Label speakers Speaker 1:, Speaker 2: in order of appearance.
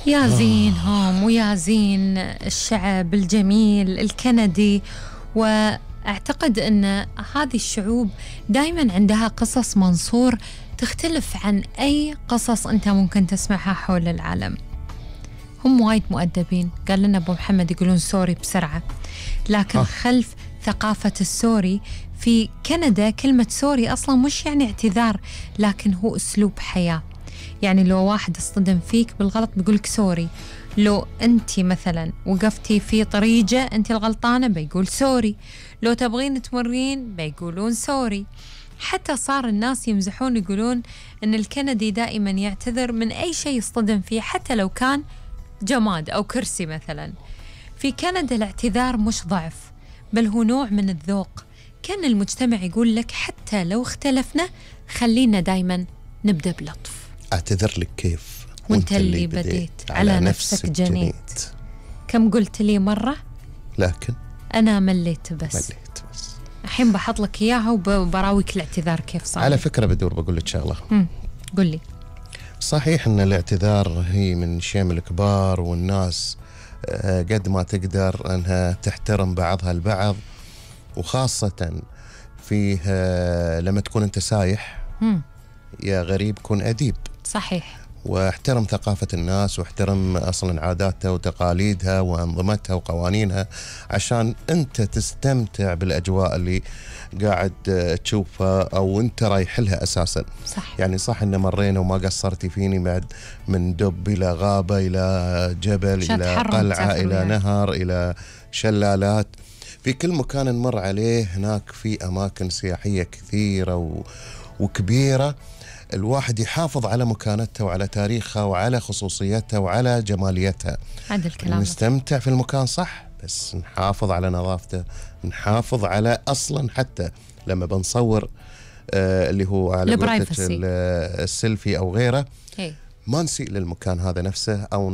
Speaker 1: يا زينهم ويا زين الشعب الجميل الكندي. وأعتقد أن هذه الشعوب دايما عندها قصص منصور تختلف عن أي قصص أنت ممكن تسمعها حول العالم. هم وايد مؤدبين، قال لنا أبو محمد يقولون سوري بسرعة، لكن خلف ثقافة السوري في كندا كلمة سوري أصلا مش يعني اعتذار، لكن هو أسلوب حياة. يعني لو واحد اصطدم فيك بالغلط بيقولك سوري، لو أنت مثلا وقفتي في طريقة أنت الغلطانة بيقول سوري، لو تبغين تمرين بيقولون سوري. حتى صار الناس يمزحون يقولون أن الكندي دائما يعتذر من أي شيء يصطدم فيه، حتى لو كان جماد أو كرسي مثلا. في كندا الاعتذار مش ضعف، بل هو نوع من الذوق. كان المجتمع يقول لك حتى لو اختلفنا خلينا دايما نبدأ بلطف.
Speaker 2: أعتذر لك كيف
Speaker 1: وانت اللي بديت على نفسك جنيت. كم قلت لي مرة
Speaker 2: لكن
Speaker 1: أنا مليت بس. الحين بحط لك إياها وبراويك الاعتذار كيف صار.
Speaker 2: على فكرة بقول لك شغلة.
Speaker 1: قل لي.
Speaker 2: صحيح أن الاعتذار هي من شيم الكبار، والناس قد ما تقدر أنها تحترم بعضها البعض، وخاصة فيه لما تكون أنت سايح يا غريب كن أديب.
Speaker 1: صحيح.
Speaker 2: واحترم ثقافة الناس، واحترم أصلا عاداتها وتقاليدها وأنظمتها وقوانينها، عشان أنت تستمتع بالأجواء اللي قاعد تشوفها أو أنت رايح لها أساسا.
Speaker 1: صح.
Speaker 2: يعني صح إن مرينا وما قصرتي فيني بعد، من دب إلى غابة إلى جبل إلى قلعة إلى نهر إلى شلالات، في كل مكان نمر عليه هناك في أماكن سياحية كثيرة وكبيرة. الواحد يحافظ على مكانتها وعلى تاريخها وعلى خصوصيتها وعلى جماليتها.
Speaker 1: هذا الكلام.
Speaker 2: نستمتع في المكان صح، بس نحافظ على نظافته، نحافظ على أصلا حتى لما بنصور اللي هو على السيلفي أو غيره، ما نسيء للمكان هذا نفسه أو